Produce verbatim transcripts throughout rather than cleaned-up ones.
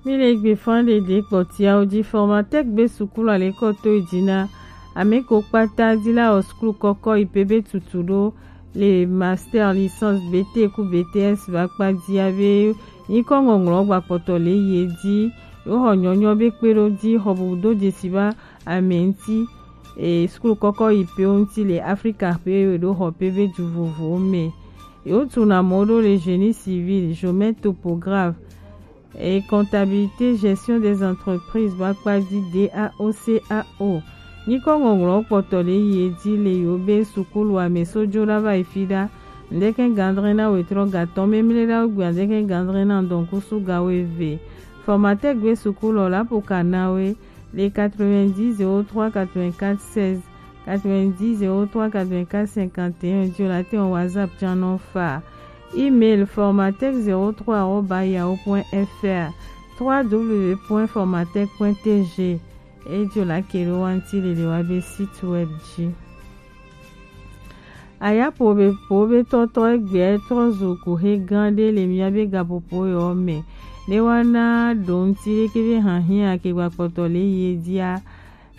Mi le gbe fan ɖeɖe kpɔtiawo ji. Formatec be sukulu alekɔto yi ji na ame ko kpata ji la wɔ sukulu kɔkɔ yi pe be tutu ɖo le master, licence, B T ku B T S ba kpa ji abe nyikɔ ŋɔŋlɔ gba kpɔtɔ le yi ji. Yo xɔ nyɔnyɔ be kpe ɖo ji xɔ bubu do jesi ba ame ŋti. E sukulu kɔkɔ yi pe wo ŋti le Afrika pe yo ɖo xɔ pe be ju vovowo me. Yo tu na mɔ ɖo le génie civil, géomètre topographe, et comptabilité, gestion des entreprises ba kpa ji D A O C A O. Nyikɔ ŋɔŋlɔ kpɔtɔ le yi ji le yo be sukulu ame so jo la va yi fi ɖa. Ndeke gandre na wetrɔ gatɔ memle ɖa gbe ndeke gandre na ndɔnkusu gawo eve. Formatec gbe sukulu la po ka na we le quatre-vingt-dix zéro trois quatre-vingt-quatre seize, quatre-vingt-dix zéro trois quatre-vingt-quatre cinquante et un, jo la te on WhatsApp channel fa. Email formatec zéro trois arobase yahoo point F R, trois W point formatec point T G. Ejo la kele wanti lele wa be site web ji. Ayapo be po be tɔtɔ egbe trɔ zo ko he gan de le mia be gapopo yo me. Ne wana donti de ke be han hin ake gba kpɔtɔ le ye dia.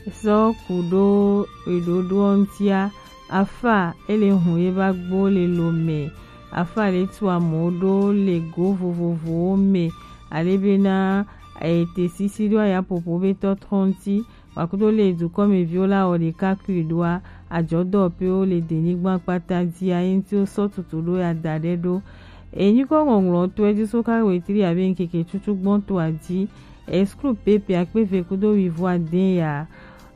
Sɔ kuɖo eɖoɖoɔ ŋtia, afa ele hun ye ba gbo le lo me, afa le tu amewo ɖo le go vovovowo me, ale bena ete sisi ɖo ayapopo be tɔtrɔ ŋti, wakudo le dukɔmeviwo la wɔ ɖeka kui ɖoa, ajɔdɔwɔƒewo le denyigba kpata dzia, ye ŋti wo sɔ tutu ɖo ya da ɖe ɖo. Enyikɔ ŋɔŋlɔ to edzi so ka wetri abe ŋkeke tutu gbɔn to adzi. Eskru pepe akpe ve kudo wivo ade ya.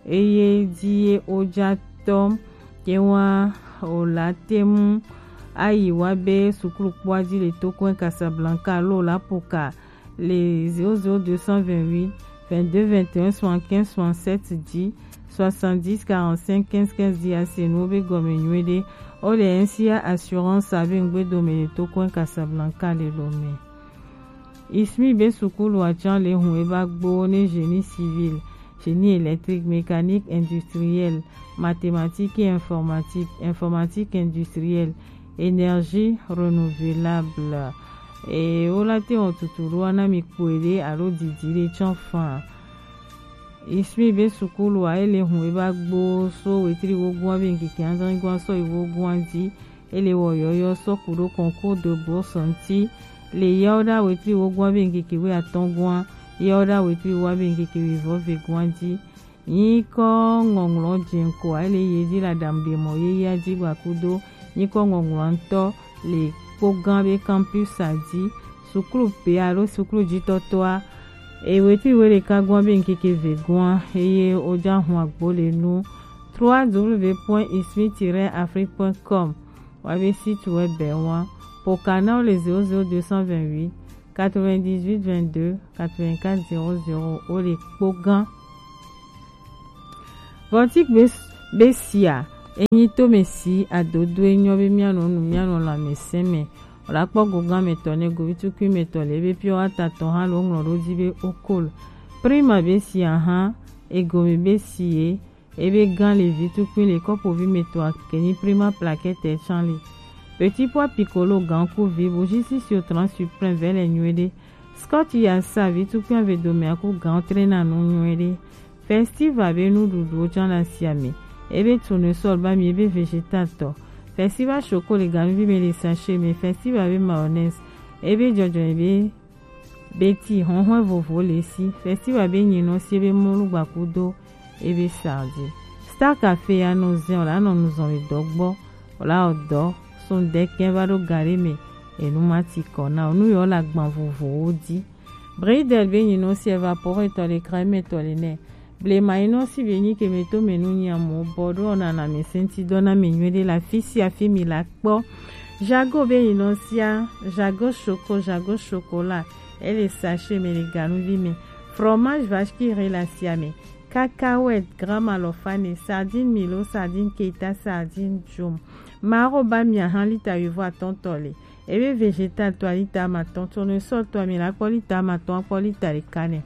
Eye ji ye oja tɔ ke wa o la te mu ayi wa be sukulu kpɔa ji le tokɔe Casablanca lo la poka le zéro zéro deux cent vingt-huit vingt-deux vingt et un soixante-quinze soixante-sept ji, soixante-dix quarante-cinq quinze quinze ji ase nuwo be gɔme nyuie ɖe. O le N C A assurance abe ŋgbe dome le tokɔe Casablanca le lo me. Ismi be sukulu acan le hun eba gbo ne génie civil, génie électrique, mécanique industrielle, mathématique et informatique, informatique industrielle, énergie renouvelable. E wo la te wɔn tuturu ana mi kpoe ɖe alo didi ɖe tsɔ fan. Ismi be sukulu a ele hun eba gbo so wetri wogun abe ŋkeke adre gun asɔ yi wogun adi. Ele wɔ yɔyɔ sɔ kuɖo concours de bourse ŋti le yawo ɖa wetri wogun abe ŋkeke wi atɔn gua, yawo ɖa wetri wo abe ŋkeke wi vɔ ve gua di. Nyikɔ ŋɔŋlɔ jɛnko a ele ye di la dam de mɔ ye ya di gba kudo nyikɔ ŋɔŋlɔ ŋtɔ le kpogã be campus a di. Sukulu pe alo sukulu jitɔtɔa, e wetri we ɖeka gua be ŋkeke ve gua, eye o ja hun agbo le nu trois W point ismi tiret afrique point com. Wa be site web be wa. Po canal le zéro zéro deux cent vingt-huit quatre-vingt-dix-huit vingt-deux quatre-vingt-quatre zéro zéro o le kpogã. Bɔntik be, be sia, enyi to me si adodo enyɔ be mianɔ nu mianɔ lãmesẽ me. O la kpɔ gogã me tɔ ne govitukui me tɔ le be piɔ ata tɔ hã lo ŋlɔ ɖo di be okol. Prima be sia hã, egome be si ye, ebe gã le vi tukui le kɔpovi me tɔ akeni prima plaquette can le. Petit pois piccolo gã ku vi bougie sisio trans suprême vɛ le nyuie ɖe. Scotch ya sa vi tukui ave dome aku gã trena nu nyuie ɖe. Festival be nuɖuɖuwo can le asia me. Ebe tournesol ba mi ebe vegetal tɔ. Festival choco le ganuvi me le sachet me. Festival be mayonnaise. Ebe jɔjɔ ebe beti hɔnhɔn vovo le si. Festival be nyinɔ si ebe mɔlu gbakudo ebe sardi. Star Café ya nɔ zɛn o la nɔ nuzɔn le dɔ gbɔ. O la o dɔ sun dɛkɛ va ɖo gari me. Enu ma ti kɔ na o nu yɔ la gban vovowo di. Bridel be nyinɔ si evaporetɔ le crème tɔ le nɛ. Blema yi nɔ si be nyi ke me to me nu nyi amo bɔ ɖo na na me senti dɔ na me nyuie ɖe la fi sia fi mi la kpɔ. Jago be yi nɔ sia, jago choco, jago chocolat, ele sachet me le ganuvi me. Fromage vache qui rit la sia me. Cacahuète, grand malofane, sardine milo, sardine keta, sardine jum. Maro ba mi ahan lita wivo atɔntɔ le. Ebe vegetal to a lita amatɔn, tournesol to a mi la kpɔ lita amatɔn, akpɔ lita ɖeka nɛ.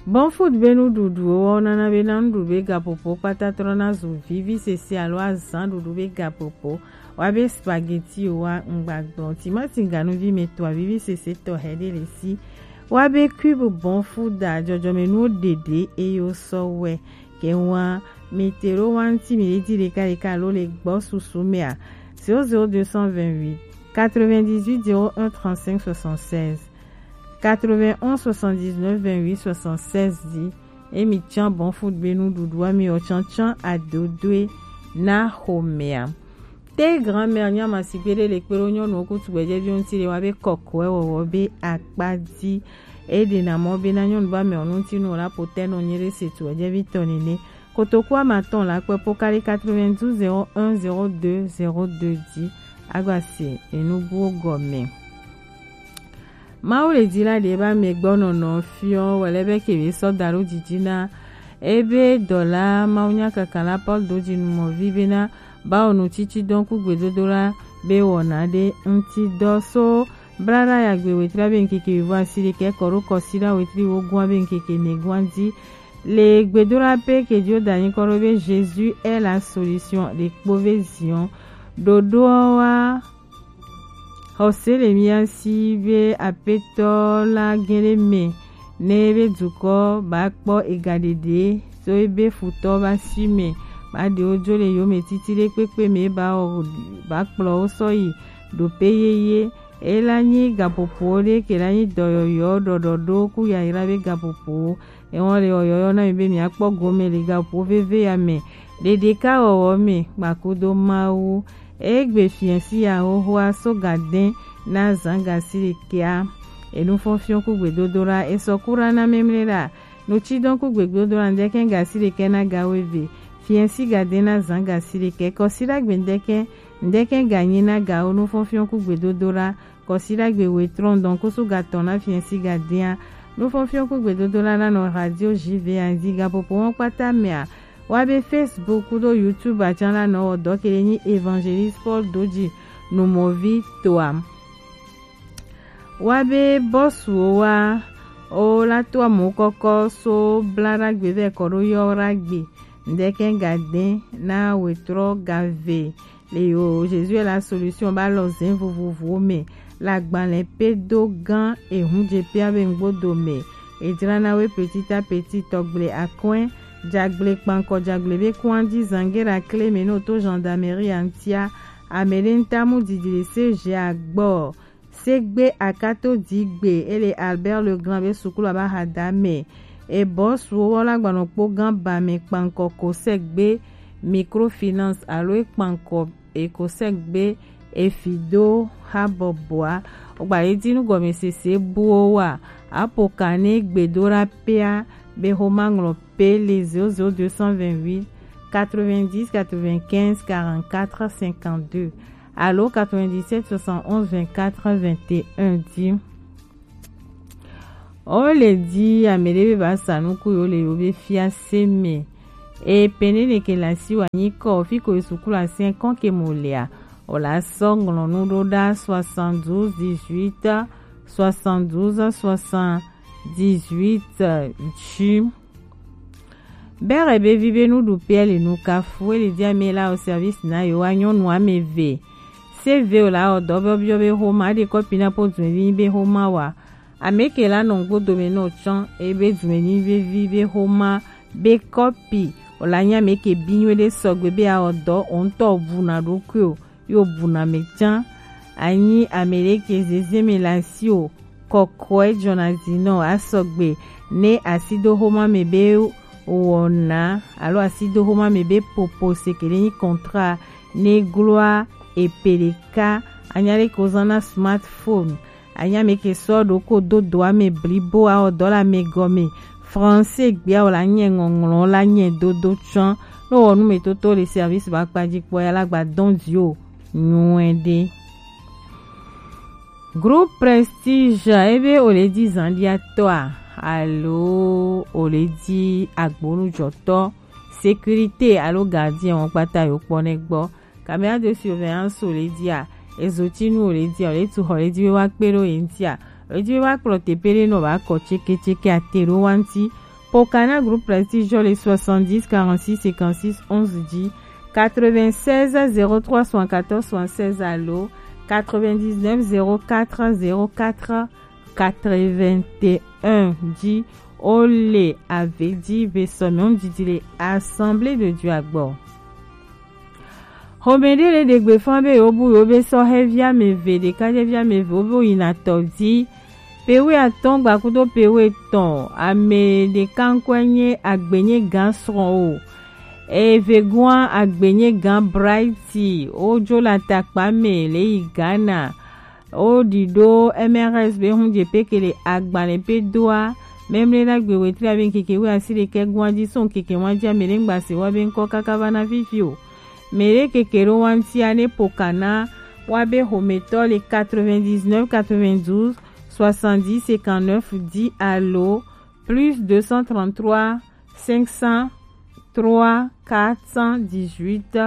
Bon food be nuɖuɖuwo wa nana be na nuɖuɖu be gapopo kpata trɔ na zu vivi sese alo azan ɖuɖu be gapopo. Wa be spaghetti wa ŋgbagbɔ timati ganuvi me to avivi sese tɔ hɛ ɖe le si. Wa be cube bon food a jɔjɔme nuwo ɖeɖe eye wo sɔ wɛ. Ke wa mi te ɖo wa ŋuti mi ɖe di ɖeka ɖeka alo le gbɔ susu mea. Zéro zéro deux cent vingt-huit quatre-vingt-dix-huit zéro un trente-cinq soixante-seize. Quatre-vingt-onze soixante-dix-neuf vingt-huit soixante-seize di. Emi can bon food be nuɖuɖu ami o can can adodoe na xomea. Te grand-mère nyama sigbe ɖe le kpe ɖo nyɔnuwo kutu gbɛjɛviwo ŋuti le wa be kɔkɔe wɔwɔ be akpa di. E ɖe na mɔ be na nyɔnu ba mɛ o ŋuti nu o la potɛ nɔ nye ɖe se tu gbɛjɛvi tɔ nene. Kotoku amatɔn la kpe po kali quatre-vingt-douze zéro un zéro deux zéro deux di. Agba se enubuwo gɔme. Mawu le di la ɖe ba mɛ gbɔ nɔnɔ fiɔ wɛlɛ be ke be sɔ da ɖo didi na ebe dɔla Mawu nya kaka la Paul do di numɔvi be na ba o nu titi dɔn ku gbedodo la be wɔna ɖe ŋuti dɔ so bla ɖa ya gbe wetri be ŋkeke wivo asi ɖe kɛ kɔ ɖo kɔsi ɖa wetri wo gua be ŋkeke ne gua di. Le gbedola pe ke dio da nyikɔ ɖo be Jésus est la solution le kpo ve zion. Ɖoɖoa wa Xɔse le mía si be Aƒetɔ la gẽ ɖe mɛ ne be dukɔ ba kpɔ ega ɖeɖe so ebe futɔ ba si mɛ ba ɖe wo dzo le yome titi ɖe kpekpe mɛ ba wɔ ba kplɔ wo sɔ yi ɖope yeye. Ela nyi gaƒoƒo ɖe ke la nyi dɔyɔyɔ ɖɔɖɔɖo ku yayra be gaƒoƒo. Ewɔn le ɔyɔyɔ na mi be miakpɔ gome le gaƒo veve ya me. Ɖeɖeka wɔwɔ me kpakudo Mawu. Egbe fiɛsi ya xoxoa so gadɛn na zan gasi ɖekɛa. Enufɔnfiɔn ku gbedodo la esɔ kura na memle la. Nutsidɔn ku gbedodo la ŋdɛkɛ gasi ɖekɛ na gawo eve. Fiɛsi gadɛn na zan gasi ɖekɛ kɔsi ɖagbe ŋdɛkɛ ŋdɛkɛ ganyi na gawo nufɔnfiɔn ku gbedodo la. Kɔsiɖagbe wetrɔn dɔn kusu gatɔn na fiɛsi gadɛa. Nufɔnfiɔn ku gbedodo la na nɔ radio J V A zi gapopo wɔn kpata mɛa. Wa be Facebook kudo YouTube acan la nɔ wɔ dɔ kele nyi Evangeliste Paul Doji numɔvi toa. Wa be bɔsuwo wa o la to amu kɔkɔ so bla ɖagbe vɛ kɔ ɖo yɔ ɖagbe. Ŋdɛkɛ gadɛn na wetrɔ gave. Le yo Jésus est la solution ba lɔ zɛn vovovowo mɛ. Le agbalẽ pe do gã ehun je pia be ŋgbodo mɛ. Edzra na we petit à petit tɔgble akɔɛ. Jagble kpankɔ jagble be kɔn di zangera kle mɛ no to gendarmerie antia. Amɛ ɖe ŋta mu didi le C G agbɔ. Segbe akato digbe ele Albert Legrand be sukulu aba hada mɛ. Ebɔ suwo wɔ la gbanɔ kpo gan ba mɛ kpankɔ ko segbe microfinance alo e kpankɔ e ko segbe e fi do ha bɔbɔa. Ogba ye dinu gɔmesese buwo wa apo kane gbedo la pea be ho ma ŋlɔ pe le zéro zéro deux cent vingt-huit quatre-vingt-dix quatre-vingt-quinze quarante-quatre cinquante-deux alo quatre-vingt-dix-sept soixante-onze vingt-quatre vingt et un di. O le di ame ɖe be ba sa nuku yo le yo be fiase me. E pene ne ke la si wa nyi kɔ fi ko sukulu asɛn kɔn ke mo lea. O la sɔ ŋlɔ nu ɖo ɖa soixante-douze dix-huit soixante-douze soixante-dix-huit dzi. Bere be vi be nuɖuƒea le nu kafu ele dia me la o service na yo wa nyɔnu ame eve. Se ve o la o dɔ biɔ biɔ be homa de kɔpi na po dun vi be homa wa. Ame ke la nɔ ŋgbo dome nɔ tsɔn ebe dun ni vevi be homa be kɔpi o la nya me ke bi nyuie de sɔgbe be a o dɔ o ŋtɔ bu na ɖokui o. Yo buna me can. Anyi ame ɖe ke zeze me le asi o. Kɔkɔe jɔna zi nɔ asɔgbe ne asidoxoma me be wɔna alo asidoxoma me be popo se ke ɖe nyi contrat ne gloa epe ɖeka anya ɖe ko zan na smartphone. Anya me ke sɔ ɖo ko do doa me blibo awɔ dɔ le ame gɔme. Français gbea o la nye ŋɔŋlɔ la nye dodo tsɔn. Ne wɔ nu me toto le service ba kpa dzi kpɔ ya la gba dɔn dzi o nyuɛ ɖe. Groupe Prestige ebe o le di zandiatɔa alo o le di agbonujɔtɔ sécurité alo gardien wɔn kpata yo kpɔ ne gbɔ. Caméra de surveillance o le dia, ezotinu o le dia, o le tu xɔ le di be wa kpe ɖo ye ŋtia, o le di be wa kplɔ teƒe ɖe nɔ ba kɔ tseke tseke ate ɖo wa ŋti. Pokana groupe Prestige Jolly soixante-dix quarante-six cinquante-six onze dix, quatre-vingt-seize zéro trois soixante-quatorze soixante-seize alo quatre-vingt-dix-neuf zéro quatre zéro quatre quatre-vingt-un dix. Ole avedi ve sɔmi on didi le Assemblée de Dieu agbo. Xomɛɖe le ɖe gbe fã be yewo bu yewo be sɔhɛvi ameve, ɖekadzevi ameve wo be woyina tɔ dzi. Pewu atɔ̃ gbakudo pewu etɔ̃, ame ɖeka ŋkɔe nye Agbenye Gã Srɔ̃ o. Eye vegɔ̃a Agbenye Gã Brighty, wodzo le atakpa me le yi Ghana. Woɖi ɖo M R S be hun dze peke le agbalẽ pe doa. Memle na gbe wetri abe ŋkeke wuiasiɖekɛ gɔ̃a dzi so ŋkeke ŋua dzi ame ɖe ŋgba se wa be ŋkɔ kaka va na fifi o. Mɛ ɖe keke ɖo wa ŋutia ne Pokana wa be xometɔ le quatre-vingt-dix-neuf quatre-vingt-douze soixante-dix cinquante-neuf dix alo plus deux cent trente-trois cinq cent trois quatre cent dix-huit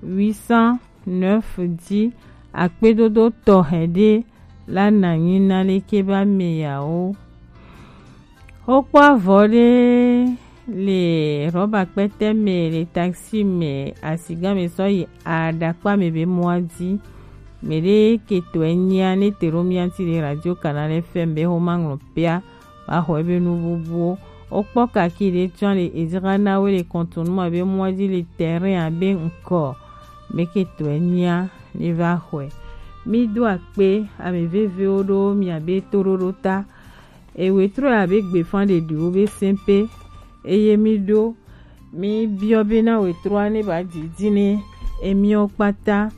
huit cent neuf dix. Akpedodo tɔxɛ ɖe la na nyi na leke ba me yawo. Wokpɔ avɔ ɖe le rɔba kpɛtɛ me le taxi me, asigã me sɔ yi aɖakpa me be mɔa dzi. Mɛ ɖe ketɔe nyia ne te ɖo mia ŋuti le Radio Canal F M be xoma ŋlɔ pea. Wa xɔ ebe nu bubuwo. Wokpɔ kaki ɖe tsɔ le edzra na wo le kɔntonu abe mɔa dzi le terrain abe ŋkɔ. Mɛ ketɔe nyia ne va xɔe. Mi do akpe ame vevewo ɖo mia be toɖoɖo ta. Ewe trɔ abe gbefã ɖeɖiwo be sɛnpe. Eye mi ɖo mi biɔ be na we trɔ ne ba didi ne emiɔ kpata.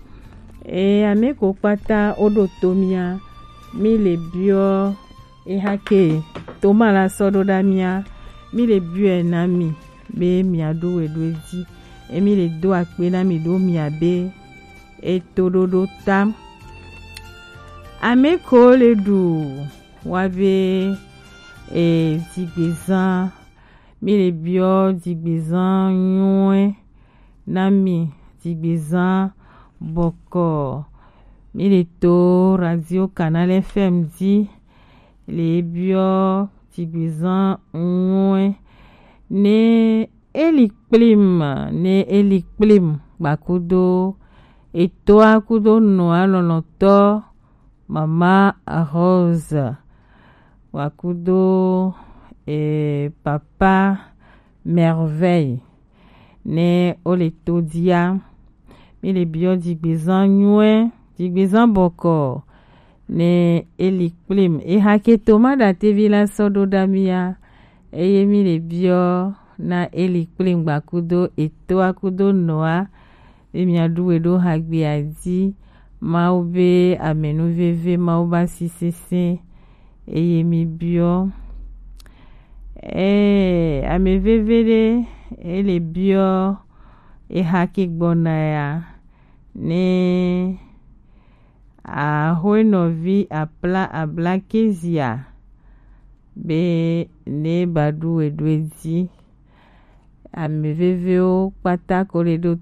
E ame ko kpata wo ɖo to mia. Mi le biɔ eha ke to ma la sɔ ɖo ɖa mia. Mi le biɔe na mi be mia ɖo we ɖo edzi. Emi le do akpe na mi ɖo mia be etoɖoɖo ta. Ame ko le ɖu wa be e dzigbezã, mi le biɔ dzigbezã nyuie na mi, dzigbezã bɔkɔ. Mi le to Radio Canal F M dzi le biɔ dzigbezã nyuie ne eli kplim, ne eli kplim gbakudo etoa kudo nɔa lɔlɔtɔ Mama Rose, wa kudo, eh, Papa Merveille, ne wo le to dia. Mi le biɔ dzigbezã nyuie, dzigbezã bɔkɔ, ne eli kplim. Eha ke to ma ɖa tevi la sɔ ɖo ɖa mia, eye mi le biɔ na eli kplim gbakudo etoa kudo nɔa. Be mia ɖu we ɖo hagbea dzi. Mawu be amenuveve, Mawu ba si sese, eye mi biɔ. Ee, ame veve ɖe, ele biɔ eha ke gbɔna ya, ne ahoenɔvi apla abla ke zia, be ne ba ɖu we ɖo edzi. Ame vevewo kpata ko le ɖo